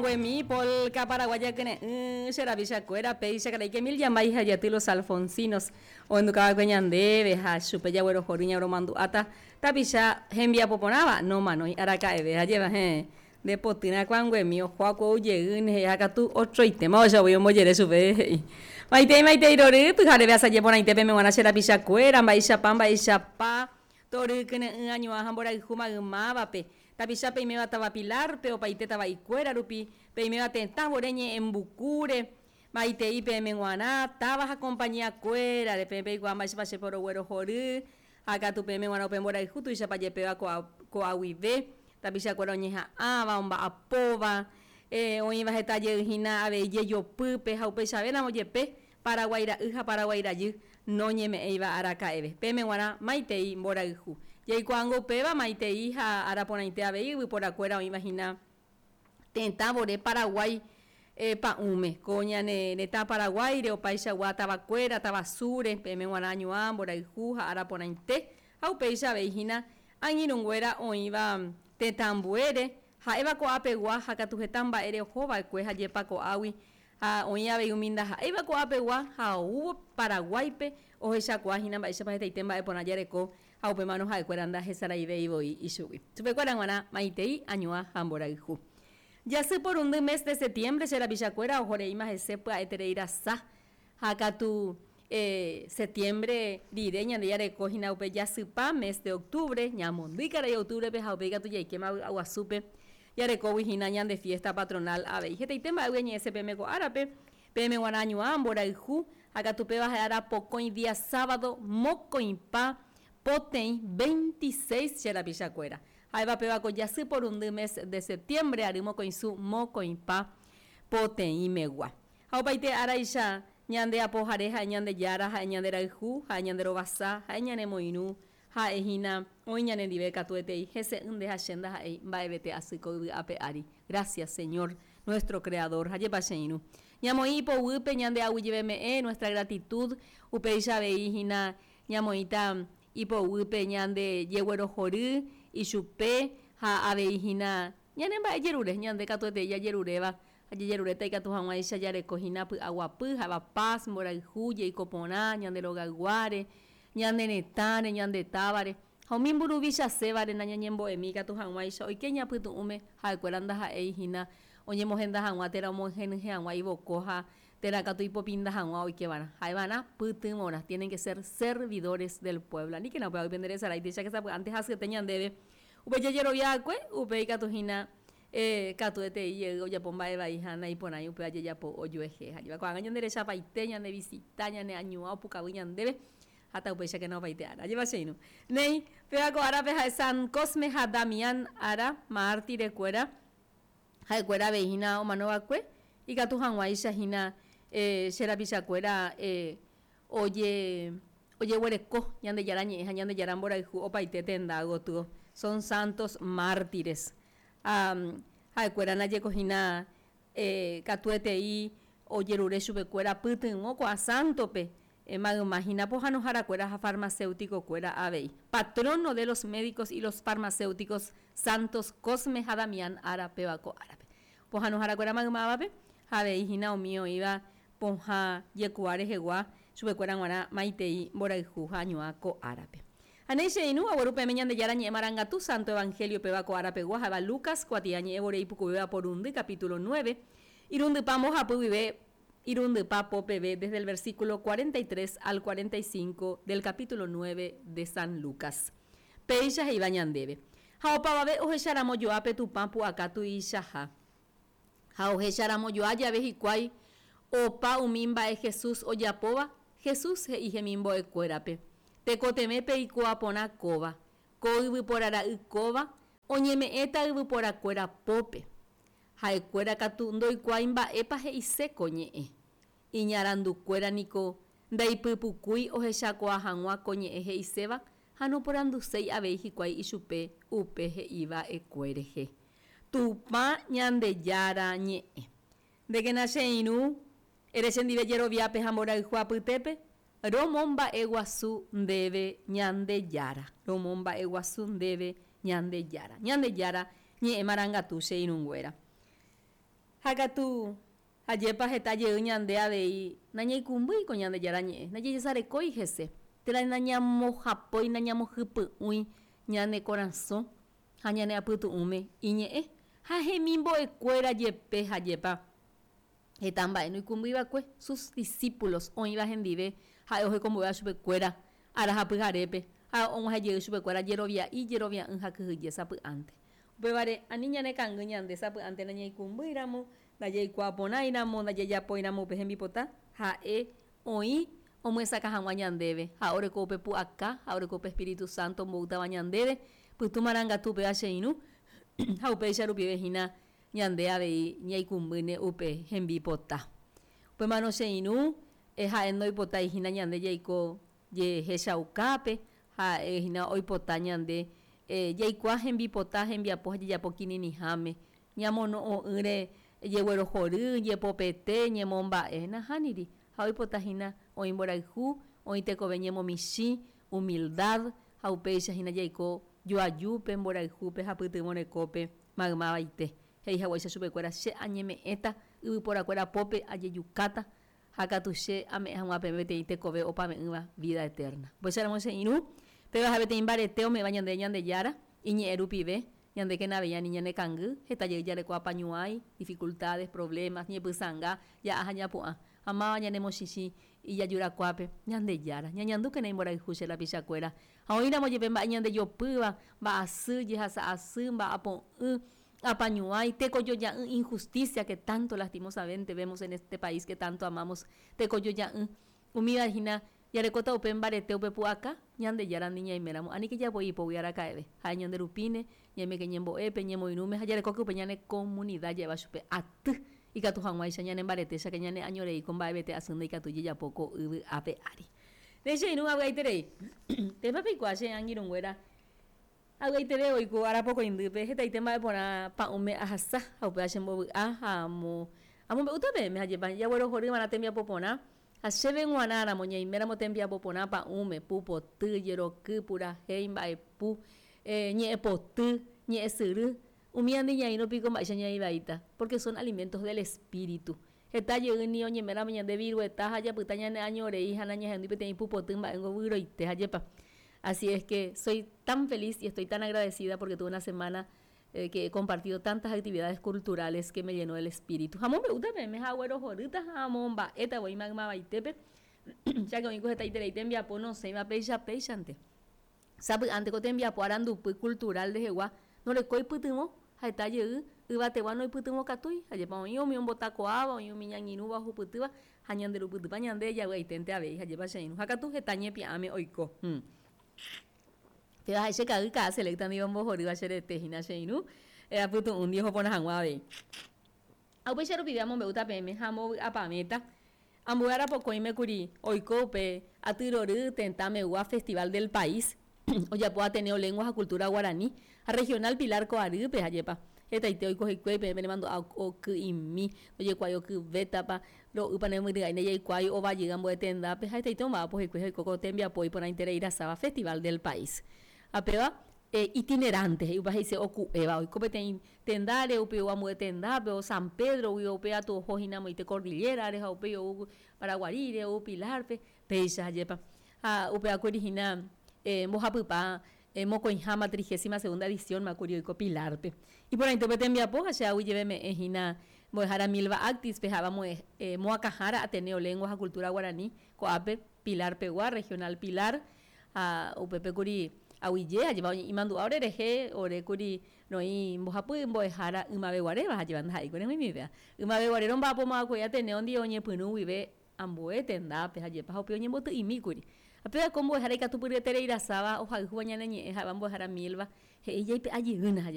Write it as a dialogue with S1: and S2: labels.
S1: Kuanguemi, polka paraguaya kyre'ỹ, che rapichakuéra, péicha karai Kemil Yambay ha Jaty Los Alfonsinos ohendukava'ekue ñandéve ha chupe jaguerohory ñaromandu'áta tapicha hembiapo porãva nomanói araka'eve. Ha jeva héẽ, nde potyrã Kuanguemi oho akuou jeýne he'i ha katu otroitéma ohecha voi ombojere chupe he'i. Maitei maitei rory, pyhareve asaje porãite peme g̃uarã che rapichakuéra, mba'eichapa mba'eichapa tory kyre'ỹ añuã ha mborayhu maymávape. Tapicha peiméva táva Pilar-pe, opaite tava'ikuéra rupi, peiméva tetã vore ñe'ẽmbukúre, maitei peẽme g̃uarã, táva ha compañía-kuérare, peẽ peikuaa mba'éichapa che poroguerohory, ha katu peẽme g̃uarã upe mborayhu tuichapa jepéva ko'a guive, tapichakuéra oñeha'ãva, omba'apóva, oĩva heta jey hína avei jejopýpe ha upeichavéramo jepe Paraguái ra'y ha Paraguái rajy noñeme'ẽiva araka'eve. Peẽme g̃uarã maitei mborayhu. Jaikuaángo upéva maitei ha ára porãite avei yvyporakuéra oĩva hína tetã vore Paraguái pa'ũme. Ko ñane retã Paraguáire opaichagua tavakuéra, tavasúre, peẽme g̃uarã añuã, mborayhu ha ára porãite ha upéicha avei hína angirũnguéra oĩva tetã ambuére, ha'éva ko'ápegua ha katu heta mba'ére ohova'ekue ha jepa ko'águi Ha oĩ avei umi ndaha'éiva ko'ápegua ha oúvo Paraguáipe ohechakuaa hína mba'éichapa hetaite mba'e porã jareko ha upémarõ ha'ekuéra ndahesaraivéi voi ichugui. Chupekuéra g̃uarã maitei, añuã ha mborayhu. Jasy porundy mes de setiembre che rapichakuéra ohoreíma hese pya'eterei rasa ha katu setiembre rire ñande jareko hína upe jasypa mes de octubre, ñamondýi karai octubre-pe ha upéi katu jaikéma vy'aguasúpe Jarekógui hína ñande fiesta patronal avei. Hetaite mba'égui añe'ẽse peẽme ko árape, peẽme g̃uarã añuã, mborayhu, ha katu péva ha'e ára pokõi día sábado mokõipa poteĩ 26 che rapichakuéra. Ha'éva péva ko jasy porundy mes de septiembre ary mokõisu mokõipa poteĩmegua. Ha opaite áraicha ñande Apohare ha'e Ñandejára, ha'e ñande rayhu, ha'e ñande rovasa, ha'e ñanemoirũ, Ha'e hína oĩ ñanendive katuetei, hese'ỹ nde ha che ndaha'éi mba'evete asy ko yvy ape ári. Gracias, Señor, nuestro Creador. Ha jepa che irũ. Ñamoĩ ipoguýpe ñande aguyjeveme'ẽ, nuestra gratitud, upéicha avei hína ñamoĩta ipoguýpe ñande jeguerohory ichupe ha avei hína ñane mba'e jerure, ñande katuetei jajeruréva ha jajeruréta ikatu hag̃uáicha jareko hína py'aguapy, ha'éva paz, mborayhu, jeiko porã, ñande rogayguáre, Ñane retãre, ñande távare, ha umi mburuvichasévare nañañembo'emi ikatu hag̃uáicha oike ñapytu'ũme, ha'ekuéra ndaha'éi hína oñemohenda hag̃ua térã omohenyhẽ hag̃ua ivoko ha térã katu ipopinda hag̃ua oikeva'erã. Ha'eva'erã pytyvõrã, tienen que ser servidores del pueblo. Aníkena upévagui pende resarái, tuicha ke sapy'ánte hasyete ñandéve upe jajerovia'akue, upe ikatu hína katuetei jey ojapo mba'e vai ha naiporãi upéva jajapo ojuehe. Ha jeva ko'ág̃a ñande rechapaite, ñande visita, ñane añuã opukavy ñandéve ha taupéichakena opaite ára. Ajépa che irũ. Néi, péva ko árape ha'e San Cosme ha Damián ára, mártirekuéra, ha'ekuéra avei hína omanova'ekue, ikatu hag̃uáicha hína che rapichakuéra oje ojeguereko Ñandejára ñe'ẽ ha Ñandejára mborayhu opaite tenda gotyo. Son santos mártires. Ha ha'ekuéra najeko hína katuetei ojerure chupekuéra pytyvõ ko'ã sántope, mayma hína pohãnoharakuéra ha farmacéutico-kuéra avei. Patrono de los médicos y los farmacéuticos Santos Cosme ha Damián ára péva ko árape. Pohãnoharakuéra maymávape ha avei hína umi oĩva pohã jekuaa rehegua chupekuéra g̃uarã maitei mborayhu ha añuã ko árape. Ha néi che irũ, agueru peẽme Ñandejára ñe'ẽ marangatu Santo Evangelio péva ko árapegua ha'éva Lucas kuatia ñe'ẽ vore ipukuvéva porundy capítulo nueve, irundypa mbohapy guive irundypa po peve desde el versículo 43 al 45 del capítulo nueve de San Lucas. Péicha he'íva ñandéve, Ha opavave ohecharamo joa pe Tupã pu'aka tuichaha. Ha ohecharamo joa jave hikuái opa umi mba'e Jesús ojapóva, Jesús he'i hemimbo'ekuérape, Tekotevẽ peikuaa porã kóva, ko yvypóra ra'y kóva oñeme'ẽta yvyporakuéra pópe. Ha'ekuéra katu ndoikuaái mba'épa he'ise ko ñe'ẽ. Iñarandukuéra niko ndaipypukúi ohechakuaa hag̃ua ko ñe'ẽ he'iséva ha noporanduséi avei hikuái ichupe upe he'iva'ekue rehe. Tupã Ñandejára ñe'ẽ. Ndékena che irũ, ere chendive jeroviápe ha mborayhu apytépe, romomba'eguasu ndéve Ñandejára, romomba'eguasu ndéve Ñandejára. Ñandejára ñe'ẽ marangatu che irũnguéra. Ha katu, ajépa heta jey ñande avei nañaikũmbýi ko Ñandejára Ñe'ẽ, ndajajesarekói hese, térã nañamohapói, nañamohypy'ũi ñane korasõ ha ñane apytu'ũme iñe'ẽ ha hemimbo'ekuéra jepe ajépa heta mba'e noikũmbyiva'ekue sus discípulos oĩva hendive ha'e ohekombo'éva chupekuéra ára ha pyharépe ha og̃uahẽ jey chupekuéra jerovia'i, jerovia'ỹ ha kyhyje sapy'ánte. Upévare ani ñanekangy ñande sapy'ánte nañaikũmbýiramo, ndajaikuaaporãiramo, ndajajapóiramo upe hembipota, ha'e oĩ omyesakã hag̃ua ñandéve ha oreko upe pu'aka ha oreko upe Espíritu Santo omboútava ñandéve Pytu Marangatu upéva che irũ ha upéicha rupive hína ñande avei ñaikũmbýne upe hembipota. Upémarõ che irũ ha'e ndoipotái hína ñande jaiko jehechaukápe, ha'e hína oipota ñande jaikuaa hembipota, hembiapo ha jajapo kirirĩháme, ñamono'õ'ỹre jeguerohory, jepopete, ñemomba'e. Nahániri, ha oipota hína oĩ mborayhu, oĩ tekove ñemomichĩ, humildad, ha upéicha hína jaiko joajúpe, mborayhúpe ha pytyvõ rekópe maymavaite. He'i haguéicha chupekuéra, Che añeme'ẽta yvyporakuéra pópe ajejukáta, ha katu che ame'ẽ hag̃ua peẽme peteĩ tekove opave'ỹva, vida eterna. Upéicharamo che irũ, péva ha'e peteĩ mbarete ome'ẽva ñandéve Ñandejára, iñe'ẽ rupive, ñandékena avei ani ñanekangy, heta jey jareko apañuãi, dificultades, problemas, ñepysãnga, ja'a ha ñapu'ã, ha máva ñanemochichĩ ijajurakuápe, Ñandejára, ñañandúkena imborayhu che rapichakuéra, ha oĩramo jepe mba'e ñandejopýva, mba'asy, jehasa asy, mba'apo'ỹ, apañuãi, tekojoja'ỹ, injusticia que tanto lastimosamente vemos en este país que tanto amamos, tekojoja'ỹ, umíva hína jarekóta upe mbarete upe pu'aka, Ñandejárandi ñaiméramo, aníke japoi ipógui araka'eve, ha'e ñande rupíne, ñaimeke ñembo'épe, ñemoirũme ha jarekóke upe ñane comunidad ja'éva chupe aty, ikatu hag̃uáicha ñane mbarete cháke ñane añorei ko mba'evete asy ndaikatúi jajapo ko yvy ape ári. Ne che irũ avy'aiterei. Pépa peikuaa che angirũnguéra Avy'aiteve oiko ára pokõindýpe hetaite mba'e porã pa'ũme ahasa ha upéva chembovy'a ha amombe'úta peẽme ha jepa jaguerohoryva'erã tembiapo porã ha chéve g̃uarã ramo ñaiméramo tembiapo porã pa'ũme, pupoty, jeroky, purahéi, mba'epu, ñe'ẽpoty, ñe'ẽsyry, umíva ndiñaĩrõ piko mba'éicha ñaĩvaíta, porque son alimentos del espíritu. Heta jey ni oñeméramo ñande virueta ha japyta ñane año rei ha nañahendúi peteĩ pupoty mba'éngo vyroite ha jepa. Así es que soy tan feliz y estoy tan agradecida porque tuve una semana que he compartido tantas actividades culturales que me llenó el espíritu. Ha amombe'úta peẽme ha aguerohorýta ha amomba'éta voi maymavaitépe, cháke oĩko hetaiterei tembiapo nosẽiva péicha péichante. Sapy'ánte ko tembiapo arandupy cultural rehegua norekói pytyvõ, ha heta jey yvategua noipytyvõkatúi, ajépa oĩ umi ombotakuaáva, oĩ umi ñañirũva ohupytýva ha ñanderupytypa ñande javy'aiténte avei, ajépa che irũ, ha katu heta ñepia'ãme oiko. Péva ha'e che ka'y ka'a selecta ndive ombohorýva che rete hína che irũ, apytu'ũndi oho porã hag̃ua avei. Ha upéicha rupive amombe'úta peẽme ha ambovy'apavẽta ambue ára pokõime kuri oiko upe aty rory tetã megua Festival del País ojapo Ateneo Lengua ha Cultura Guarani ha Regional Pilar ko arýpe ajépa hetaite oiko hikuái peẽ penemandu'a oky'imi ndojekuaái okyvétapa ro'ýpa nemyry'ái ndajaikuaái ova jey ambue tendápe ha hetaite omba'apo hikuái ha oiko ko tembiapo iporãiterei rasáva Festival del País ha péva itinerante he'i upe he'ise oku'éva oiko peteĩ Tendáre, upéi ou ambue tendápe, ou San Pedro-gui, upéi atu oho hína amoite Cordillera-re ha upéi ou Paraguaríre, ou Pilar-pe, péicha ajépa. Ha upevakuéri hína mbohapypa mokõiháma trigésima segunda edición-ma kuri oiko Pilar-pe. Iporãite upe tembiapo ha che aguyjeve me'ẽ hína mbo'ehára Milva Actis-pe ha'éva moakãhára Ateneo Lengua ha Cultura Guarani ko'ápe Pilar-pegua, Regional Pilar, ha upépe kuri aguyje ajépa imandu'a ore rehe, ore kuri Roĩ mbohapy mbo'ehára ymaveguaréva ha jeva ndaha'éi ko remoimivéva. Ymaveguare romba'apomo'ãkuéi Ateneo ndive oñepyrũ guive ambue tendápe ha jepa ha upéi oñemboty'imíkuri. Ha péva ko mbo'ehára ikatupyryeterei rasáva ohayhúva ñane ñe'ẽ ha'éva mbo'ehára Milva he'i jaipe'a jeýna ha.